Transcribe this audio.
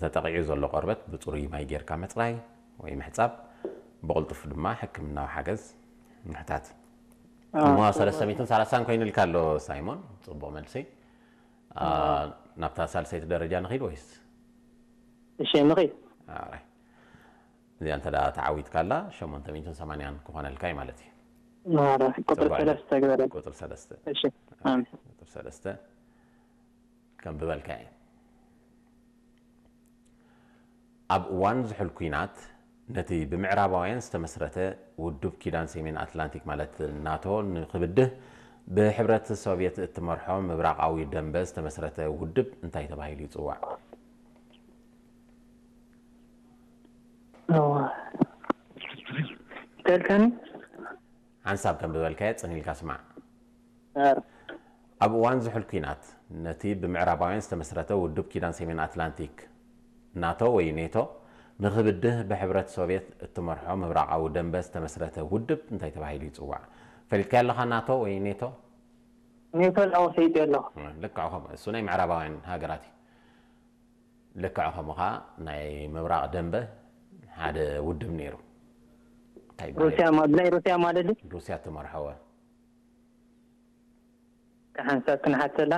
ተጠቒዑ ዘሎ ቆርበት ብጽሩይ ማይ ጌርካ ምጽራይ ወይ ምሕጻብ፣ ብቕልጡፍ ድማ ሕክምናዊ ሓገዝ ምሕታት። እሞ ሰለስተ ሚእትን ሰላሳን ኮይኑልካ ኣሎ ሳይሞን፣ ጽቡቕ መልሲ። ናብታ ሳልሰይቲ ደረጃ ንኺድ ወይስ? እሺ ንኺድ። እዚኣ እንተ ተዓዊትካላ ሸሞንተ ሚእትን ሰማንያን ክኾነልካ እዩ ማለት እዩ። ቁጥር ሰለስተ ግበረ። ቁጥር ሰለስተ። እሺ። ቁጥር ሰለስተ ከም ብበልካ እዩ። ኣብ እዋን ዝሑል ኲናት ነቲ ብምዕራባውያን ዝተመስረተ ውዱብ ኪዳን ሰሜን ኣትላንቲክ ማለት ናቶ ንኽብድህ ብሕብረት ሶቭየት እትመርሖ ምብራቓዊ ደንበ ዝተመስረተ ውድብ እንታይ ተባሂሉ ይጽዋዕ? ተልከኒ ሓንሳብ ከም ዝበልካዮ ጽን ኢልካ ስማዕ። ኣብ እዋን ዝሑል ኲናት ነቲ ብምዕራባውያን ዝተመስረተ ውድብ ኪዳን ሰሜን ኣትላንቲክ ናቶ ወይ ኔቶ ንኽብድህ ብሕብረት ሶቭየት እትመርሖ ምብራቓዊ ደንበ ዝተመስረተ ውድብ እንታይ ተባሂሉ ይጽዋዕ? ፈሊጥካዮ ኣለኻ? ናቶ ወይ ኔቶ? ኔቶ ላው ፈይጥ ኣለኹ። ልክዕ ከምኡ እሱ ናይ ምዕራባውያን ሃገራት እዩ። ልክዕ ከምኡ ኸዓ ናይ ምብራቕ ደንበ ሓደ ውድብ ነይሩ። እንታይ ይበሃል? ሩስያ ማ- ብናይ ሩስያ ማለት ድዩ? ሩስያ ትመርሖወ። ሓንሳብ ክንሓተላ